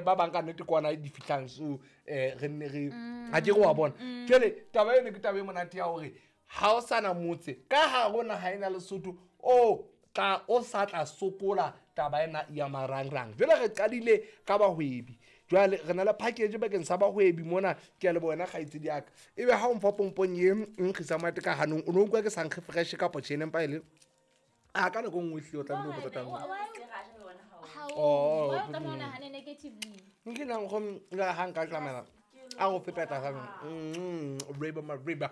ba bang ka nnete kwana di fihlang, so re nne re ha ke re wa bona. Jwale taba eno ke taba e monate ya hore ha o sana motse ka hare naha ena Lesotho o tla o sa tla sokola taba ena ya marangrang. Jwale re qadile ka bahwebi, jwale re na le package bakeng sa bahwebi mona. Ke a leboha wena kgaitsedi ya ka, ebe ha o mfa pompong ye nkgisa monate ka hanong, o no utlwa ke sa nkge fresh kapo tjhene, empa e le a ka nako nngwe ehlile o tlamehile o botsa taba. Oh, Why o tlameha o nahane negatively? Nke nang go la ha nka tlamela a go feta tlasa riba mariba.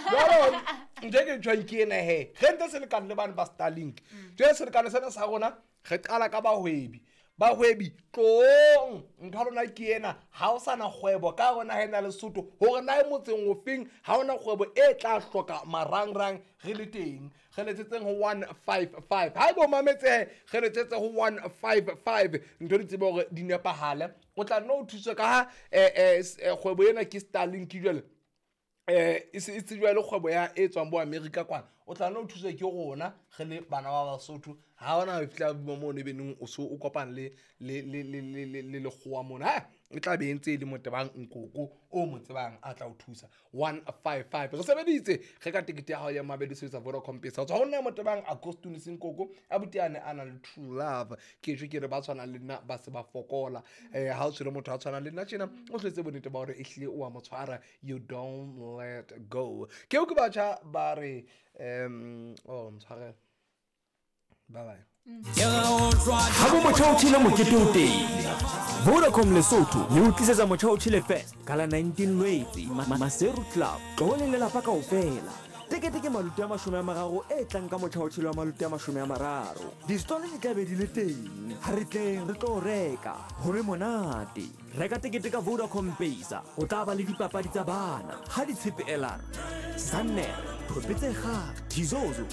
Jalo ntho e ke tjhong ke ena he, re ntse selekane le bane ba Starlink. Jwale selekane sena sa rona re qala ka bahwebi. Bahwebi tlong, ntho ya lona ke ena. Ha o sana kgwebo ka rona ha ena Lesotho, hore na e motseng ofeng, ha ona kgwebo e tla hloka marangrang, re le teng. Re letsetseng ho 155. Ha ebe o mametse, re letsetse ho 155, ntho di tsebe hore di nepahale, o tla nna o thuswe ka ha kgwebo ena ke Starlink. Jwale e se e tsejwa le kgwebo ya e tswang bo America kwana. O tla nna o thuswe ke rona re le bana ba Basotho. Ha ona ho fihla mo ne beneng o so o kopana le lekgowa mona, ha e tla be e ntse e le motebang nkoko o mo tsebang a tla o thusa. 155 re sebeditse re ka tekete ya hao ya mabedi sebetsa Vodacom Pesa. O tswa ho nna motebang Agostinus Nkoko abuti ane a na le true love. Ke tjho ke re ba tshwanang le nna ba se ba fokola. Ha o tshwere motho a tshwanang le nna tjena, o tletse bonnete ba hore ehlile o a mo tshwara, you don't let go. Ke o ke batjha ba re oh, mtshwarele, bye bye. Ha bo motjha o tjhele, mokete o teng. Vodacom Lesotho le o tlisetsa Motjha o Tjhele Fest ka la 19 Lwetse, Maseru Club. Tloho le lelapa kaofela. Tekete ke maluti a 30 e tlang ka motjha o tjhele wa maluti a 30. Distole di tla be di le teng. Ha re tleng re tlo reka ho be monate. Reka tekete ka Vodacom Pesa. O tla ba le dipapadi tsa bana ha di tshepe elar sanner thope tse kgale thizozo.